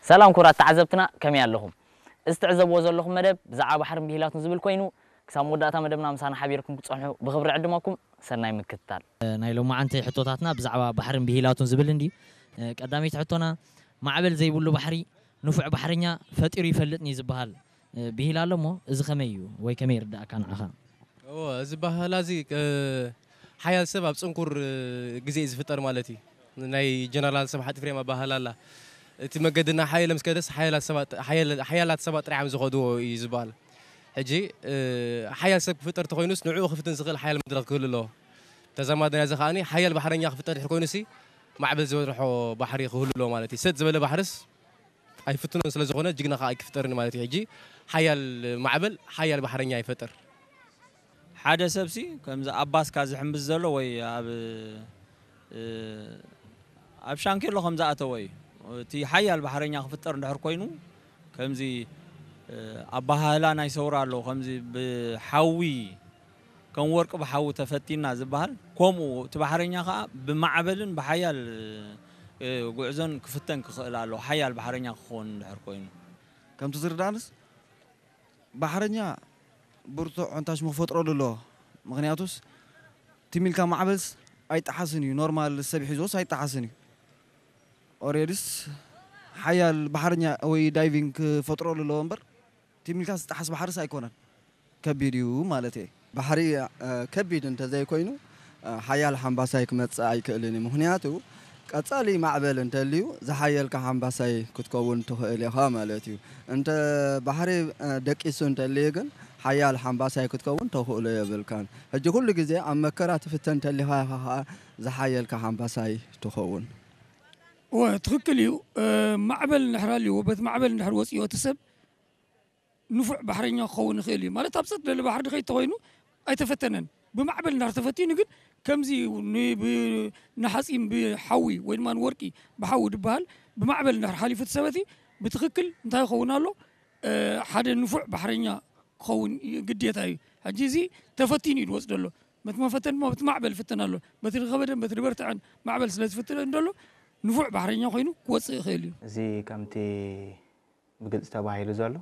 ሰላም ክቡራት ተዓዘብትና፣ ከመይ ኣለኹም? እዚ ትዕዘብዎ ዘለኹም መደብ ብዛዕባ ባሕርን ብሂላቱን ዝብል ኮይኑ፣ ክሳብ መወዳእታ መደብና ምሳና ሓቢርኩም ክትጸንሑ ብኽብሪ ዕድመኩም። ሰናይ ምክትታል። ናይ ሎማዓንቲ ሕቶታትና ብዛዕባ ባሕርን ብሂላቱን ዝብል እንድዩ። ቀዳመይቲ ሕቶና፣ ማዕበል ዘይብሉ ባሕሪ ንፉዕ ባሕረኛ ፈጢሩ ይፈልጥን እዩ ዝበሃል ብሂል ኣሎ እሞ፣ እዚ ከመይ እዩ ወይ ከመይ ይርዳእካ ንዓኻ? እዎ፣ እዚ ኣባህላ እዚ፣ እ፣ ሓያል ሰብ ኣብ ጽንኩር፣ እ፣ ግዜ እዩ ዝፍጠር ማለት እዩ። ናይ ጀነራል ስብሓት ኤፍሬም ኣባህላ ኣላ። እቲ መገድና ሓየለ ምስ ከደስ ሓያላት ሰባት፣ ሓያል-፣ ሓያላት ሰባት ጥራሕ እዮም ዝኸድዎ እዩ ዝበሃል። ሕጂ፣ እ፣ ሓያል ሰብ ክፍጠር ተኾይኑስ ንዕኡ ክፍትን ዝኽእል ሓያል መድረኽ ክህሉ ኣለዎ። ተዛማዲ ናይዚ ከኣኒ ሓያል ባሕረኛ ክፍጠር ድሕር ኮይኑሲ ማዕበል ዝበርሖ ባሕሪ ክህሉ ኣለዎ ማለት እዩ። ሰጥ ዝበለ ባሕርስ ኣይፍትኖን ስለ ዝኾነ ጅግና ከኣ ኣይክፍጠርን ማለት እዩ። ሕጂ ሓያል ማዕበል ሓያል ባሕረኛ ይፈጥር። ሓደ ሰብሲ ከምዚ ኣብ ባስካ ዝሕምብስ ዘሎ ወይ ኣብ፣ እ፣ ኣብ ሻንኬሎ ከም ዝኣተወ እዩ። እቲ ሓያል ባሕረኛ ክፍጠር እንድሕር ኮይኑ፣ ከምዚ፣ እ፣ ኣበሃህላ ናይ ሰውራ ኣሎ፣ ከምዚ ብሓዊ፣ ከም ወርቂ ብሓዊ ተፈቲና ዝበሃል፣ ከምኡ እቲ ባሕረኛ ከኣ ብማዕበልን ብሓያል፣ እ፣ ጉዕዞን ክፍተን ክኽእል ኣለዎ፣ ሓያል ባሕረኛ ክኸውን እንድሕር ኮይኑ። ከምቲ ዝርዳእንስ፣ ባሕረኛ ብርቱዕ ዕንታሽሙ ክፈጥረሉ ኣለዎ። ምኽንያቱስ፣ ትም ኢልካ ማዕበልስ ኣይጠሓስን እዩ፣ ኖርማል ሰብ ሒዞስ ኣይጠሓስን እዩ። ኦሬድስ፣ ሓያል ባሕረኛ ወይ ዳይቪንግ ክፈጥረሉ ኣለዎ እምበር፣ ትም ኢልካ ዝጠሓስ ባሕርስ ኣይኮነን። ከቢድ እዩ ማለት እየ። ባሕሪ፣ እ፣ ከቢድ እንተዘይኮይኑ፣ እ፣ ሓያል ሓምባሳይ ክመጽእ ኣይክእልን እዩ። ምኽንያቱ፣ ቀጻሊ ማዕበል እንተልዩ፣ ዝሓየልካ ሓምባሳይ ክትከውን ትኽእል ኢኻ ማለት እዩ። እንተ ባሕሪ፣ እ፣ ደቂሱ እንተልዩ ግን፣ ሓያል ሓምባሳይ ክትከውን ተኽእሎ የብልካን። ሕጂ ኩሉ ግዜ ኣብ መከራ ትፍተን እንተሊኻ ኢኻ ኸኣ ዝሓየልካ ሓምባሳይ ትኸውን። እወ፣ ትኽክል እዩ። እ፣ ማዕበል እንድሕር ኣልዎ፣ በቲ ማዕበል እንድሕር ወጺኡ እቲ ሰብ ንፉዕ ባሕረኛ ክኸውን ይኽእል እዩ። ማለት ኣብ ጸጥ ዝበለ ባሕሪ ድኸይድ ተኾይኑ ኣይተፈተነን። ብማዕበል እንድሕር ተፈቲኑ ግን ከምዚ ን-፣ ብ-፣ ንሓጺን ብሓዊ ወይ ድማ ንወርቂ ብሓዊ ድበሃል ብማዕበል እንድሕር ሓሊፉ እቲ ሰበቲ ብትኽክል እንታይ ክኸውን ኣሎ? እ፣ ሓደ ንፉዕ ባሕረኛ ክኸውን ይ-፣ ግዴታ እዩ። ሕጂ እዚ ተፈቲኑ እዩ ዝወጽእ ዘሎ። በቲ መፈተን ድማ በቲ ማዕበል ይፍተን ኣሎ። በቲ ዝኸበደን በቲ ዝበርትዐን ማዕበል ስለ ዝፍተን ዘሎ ንፉዕ ባሕረኛ ኮይኑ ክወጽእ ይኽእል እዩ። እዚ ከምቲ ብግልጺ ተባሂሉ ዘሎ፣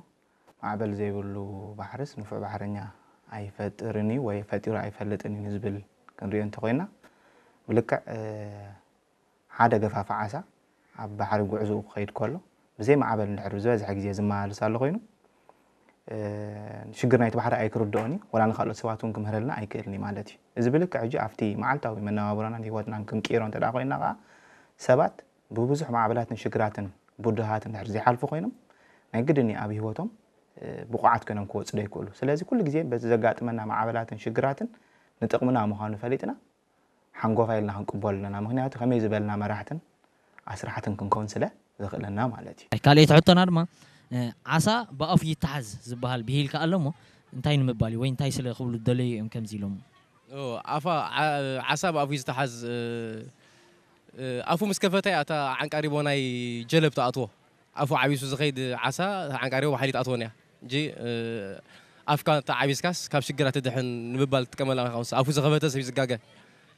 ማዕበል ዘይብሉ ባሕርስ ንፉዕ ባሕረኛ ኣይፈጥርን እዩ ወይ ፈጢሩ ኣይፈልጥን እዩ ንዝብል ክንሪኦ እንተኾይና፣ ብልክዕ፣ እ፣ ሓደ ገፋፊ ዓሳ ኣብ ባሕሪ ጉዕዞኡ ክኸይድ ከሎ፣ ብዘይ ማዕበል እንድሕር ዝበዝሐ ግዜ ዝመላለስ ኣሎ ኮይኑ፣ እ፣ ሽግር ናይቲ ባሕሪ ኣይክርድኦን እዩ፣ ወላ ንኻልኦት ሰባት እውን ክምህረልና ኣይክእልን እዩ ማለት እዩ። እዚ ብልክዕ ሕጂ ኣብቲ መዓልታዊ መነባብሮናን ህይወትናን ክንቅይሮ እንተ ደኣ ኮይንና ከኣ፣ ሰባት ብብዙሕ ማዕበላትን ሽግራትን ብድሃትን እንድሕር ዘይሓልፉ ኮይኖም፣ ናይ ግድን እዩ ኣብ ህይወቶም፣ እ፣ ብቑዓት ኮይኖም ክወጹ ዘይክእሉ። ስለዚ ኩሉ ግዜ በቲ ዘጋጥመና ማዕበላትን ሽግራትን ንጥቕምና ምዃኑ ፈሊጥና፣ ሓንጎፋ ኢልና ክንቅበሎ ኣለና። ምኽንያቱ ከመይ ዝበልና መራሕትን ኣስራሕትን ክንከውን ስለ ዘኽእለና ማለት እዩ። ካልኣይቲ ሕቶና ድማ፣ እ፣ ዓሳ ብኣፉ ይተሓዝ ዝበሃል ብሂል ከኣ ኣሎ እሞ፣ እንታይ ንምባል እዩ ወይ እንታይ ስለ ክብሉ ዝደለዩ እዮም ከምዚ ኢሎም? ኦ፣ ኣፋ፣ ዓ-፣ ዓሳ ብኣፉ እዩ ዝተሓዝ፣ እ፣ እ፣ ኣፉ ምስ ከፈተ እያ እታ ዓንቃሪቦ ናይ ጀለብ ትኣትዎ። ኣፉ ዓቢሱ ዝኸይድ ዓሳ ዓንቃሪቦ ብሓይሊ ትኣትወን እያ። እንጂ፣ እ፣ ኣፍካ እንተ ዓቢስካስ ካብ ሽግር ኣትድሕን ንምባል ትጥቀመላ ኢኻ። ኣፉ ዝኸፈተ ሰብ እዩ ዝጋገ።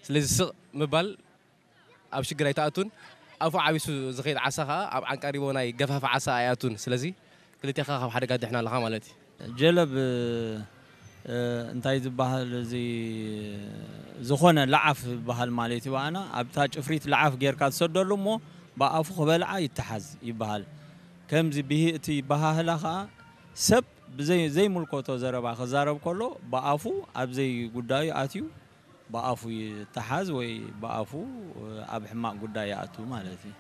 ስለዚ ስቕ ምባል ኣብ ሽግር ኣይትኣቱን። ኣፉ ዓቢሱ ዝኸይድ ዓሳ ኸኣ ኣብ ዓንቃሪቦ ናይ ገፋፊ ዓሳ ኣይኣቱን። ስለዚ ክልቴኻ ካብ ሓደጋ ትድሕን ኣለኻ ማለት እዩ። ጀለብ፣ እ፣ እንታይ ዝበሃል፣ እዚ ዝኾነ ለዓፍ ዝበሃል ማለት እዩ። ኣና ኣብታ ጭፍሪት ለዓፍ ጌርካ ትሰደሉ እሞ ብኣፉ ክበልዓ ይተሓዝ ይበሃል። ከምዚ ብሂ-፣ እቲ በሃህላ ኸኣ ሰብ ብዘይ-፣ ዘይምልከቶ ዘረባ ክዛረብ ከሎ ብኣፉ ኣብ ዘይጉዳዩ ኣትዩ ብኣፉ ይተሓዝ ወይ ብኣፉ ኣብ ሕማቕ ጉዳይ ይኣቱ ማለት እዩ።